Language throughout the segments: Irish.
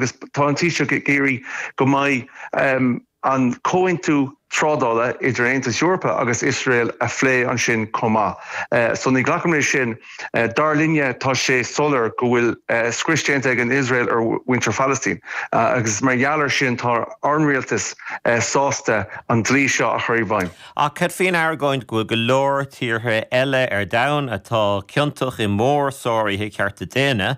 Agus tá an Taoiseach ag iarraidh go mbeidh an comhaontú trádála idir an Aontas Eorpach agus Iosrael a phlé ansin chomh maith. So ní ghlacaim leis sin. Dar linne tá sé soiléir go bhfuil scrios déanta ag an Iosrael ar mhuintir Phalaistín agus mar gheall ar sin tá ár rialtas sásta an dlí seo a chur i bhfeidhm. Ach cad faoin argóint go bhfuil go leor tíortha eile ar domhan atá ciontach i mór-sáruithe cearta daonna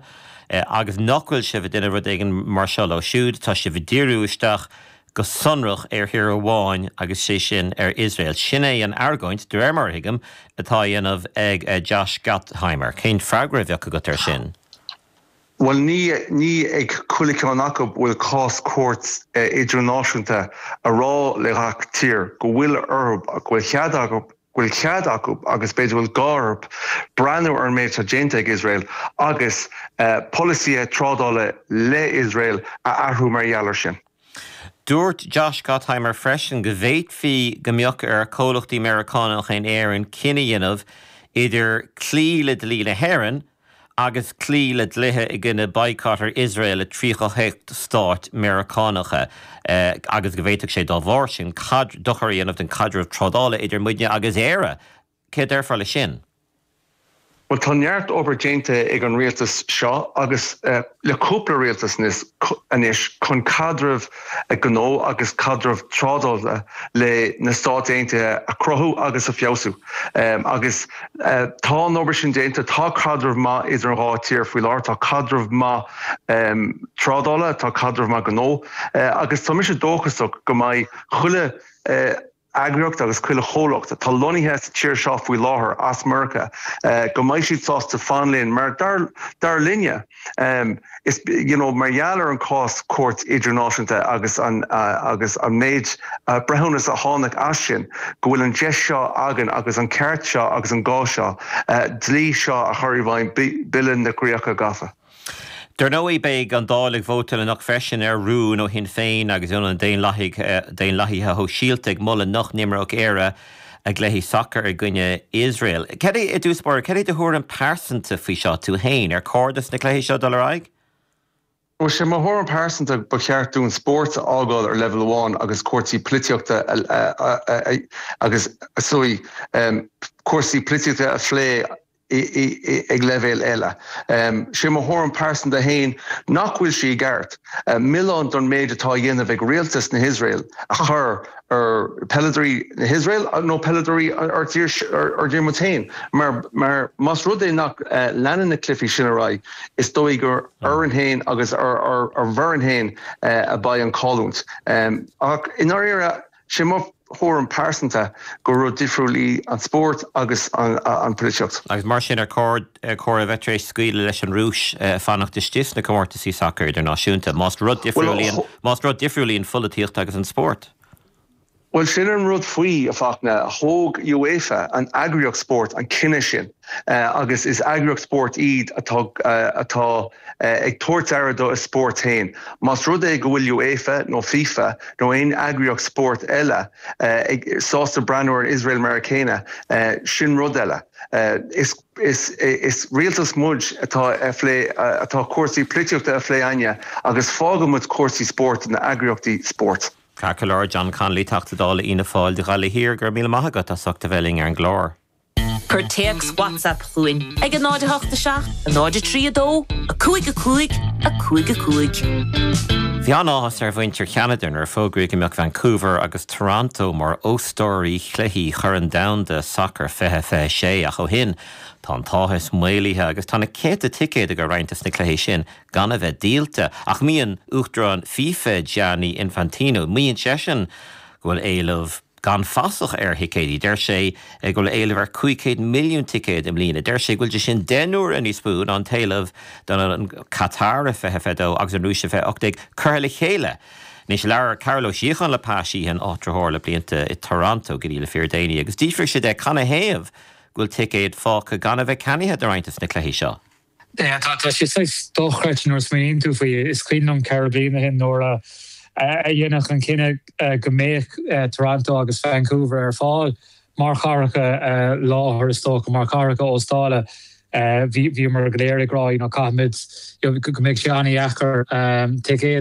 agus nach bhfuil sibh ag déanamh rud éigin mar seo leo siúd, tá sibh ag díriú isteach go sonrach ar thír amháin agus sé sin ar Iosrael. Sin é an argóint, de réir mar a thuigim, atá á dhéanamh ag Josh Gottheimer. Cén freagra a bheadh agat air sin? Bhuel, ní ní ag chuile cheann acu bhfuil cás cúirt idirnáisiúnta a rá le gach tír go bhfuil orthu, go bhfuil cead acu, go bhfuil cead acu agus b'fhéidir go bhfuil gá orthu breathnú ar an méid atá déanta ag Iosrael agus polasaithe trádála le Iosrael a athrú mar gheall air sin. Dúirt Josh Gottheimer freisin go bhféadfaí go mbeadh ar chomhlachtaí Meiriceánacha in Éirinn cinneadh a dhéanamh idir cloí le dlí na hÉireann agus cloí le dlíthe i gcoinne boycott ar Iosrael i 38 stát Meiriceánacha agus go bhféadfadh sé dá bharr sin dochar a dhéanamh don chaidreamh trádála idir muidne agus Éire. Céard a déarfá leis sin? Bhuel, tá neart obair déanta ag an rialtas seo agus le cúpla rialtas anois chun caidreamh gnó agus caidreamh trádála le na Stáit Aontaithe a chruthú agus a feabhsú. Agus tá an obair sin déanta, tá caidreamh maith idir an dhá tír faoi láthair, tá caidreamh maith trádála, tá caidreamh maith gnó agus tá mise dóchasach go mbeidh chuile eagraíocht agus chuile chomhlacht atá lonnaithe sa tír seo faoi láthair as Meiriceá go mbeidh siad sásta fan linn mar dar linne is you know mar gheall ar an cás cúirt idirnáisiúnta agus an agus an méid breithiúnas a tháinig as sin go bhfuil an deis seo againn agus an ceart seo agus an gá seo dlí seo a chur i bhfeidhm Bille na gCríocha Gafa. Dar ndóigh, beidh an Dáil ag vótáil anocht freisin ar rún ó Shinn Féin agus ó na Daonlathaithe Shóisialta ag moladh nach n-imreodh Éire a gcluichí sacair i gcoinne Iosrael. Cad é, i dtús báire, cad é do thuairim pearsanta faoi seo, tú féin? Ar chóir dos na cluichí seo dul ar aghaidh? Bhuel, sé mo thuairim pearsanta ba cheart dúinn spórt a fhágáil ar leibhéal amháin agus cúrsaí polaitíochta agus, sorry, cúrsaí polaitíochta a phlé ag leibhéal eile. Sé mo thuairim pearsanta féin nach bhfuil sé i gceart milleán don méid atá á dhéanamh ag rialtas na hIosrael a chur ar peileadóirí na hIosrael nó peileadóirí ár dtír muid féin mar mar más rud é nach leanann na cluichí sin ar aghaidh is dóigh gur orainn féin agus ar ár bhfoireann féin a beidh an chailliúint. Ach i ndáiríre Sé mo thuairim pearsanta gur rud difriúil í an spórt agus an polaitíocht. Agus mar sin, ar chóir a bheith tar éis scaoileadh leis an Rúis fanacht istigh sna comórtaisí sacair idirnáisiúnta, más rud difriúil í an, más rud difriúil í an pholaitíocht agus an spórt? Bhuel, sin an rud faoi, a Fachtna. Thóg UEFA, an eagraíocht spóirt, an cinneadh sin agus is eagraíocht spóirt iad atá, atá, ag tabhairt aire do a spórt féin. Más rud é go bhfuil UEFA nó FIFA nó aon eagraíocht spóirt eile ag sásta breathnú ar Iosrael mar a chéanna, sin rud eile. Is is rialtas muid atá a phlé atá cúrsaí polaitíochta a phlé againne agus fágann muid cúrsaí spóirt do na eagraíochtaí spóirt. Ceart go leor, John Connolly, Teachta Dála Fhianna Fáil do Ghaillimh Thiar, go raibh míle maith agat as ucht a bheith linn ar an gclár. Cuir téacs WhatsApp chugainn ag 0 8 7 0 3 2 5 5 5 5. Bhí an-áthas ar mhuintir Cheanada nuair a fógraíodh go mbeadh Vancouver agus Toronto mar óstóirí chluichí Chorn Domhanda Sacair 2026 ach ó shin tá an t-áthas maolaithe agus tá na céadta ticéad a raibh roinnt dos na cluichí sin gan a bheith díolta. Ach maíonn Uachtarán FIFA Gianni Infantino, maíonn seisean go bhfuil éileamh gan fasach ar thicéidí. Deir sé go bhfuil éileamh ar 500 milliún ticéad i mbliana. Deir sé go bhfuil sé sin 10 n-uaire níos mó ná an t-éileamh don Qatar i 2022 agus an Rúis i 2018 curtha le chéile. Anois, labhair Cearbhall Ó Síocháin le Pa Sheehan, áitritheoir le blianta i Toronto go dtí le fíordhéanaí, agus d'fhiafraigh sé de canathaobh go bhfuil ticéid fágtha gan a bheith ceannaithe do roinnt des na cluichí seo. Tá sé saghas dochreidte nuair a smaoiníonn tú faoi. Is cuimhin liom ceithre bliana ó shin nuair a deineadh an cinneadh go mbeadh Toronto agus Vancouver ar fáil mar chathracha láthair is dócha, mar chathracha óstála. Bhíomar go léir ag rá you know caithfimid you know go mbeidh sé an-dheacair ticéad.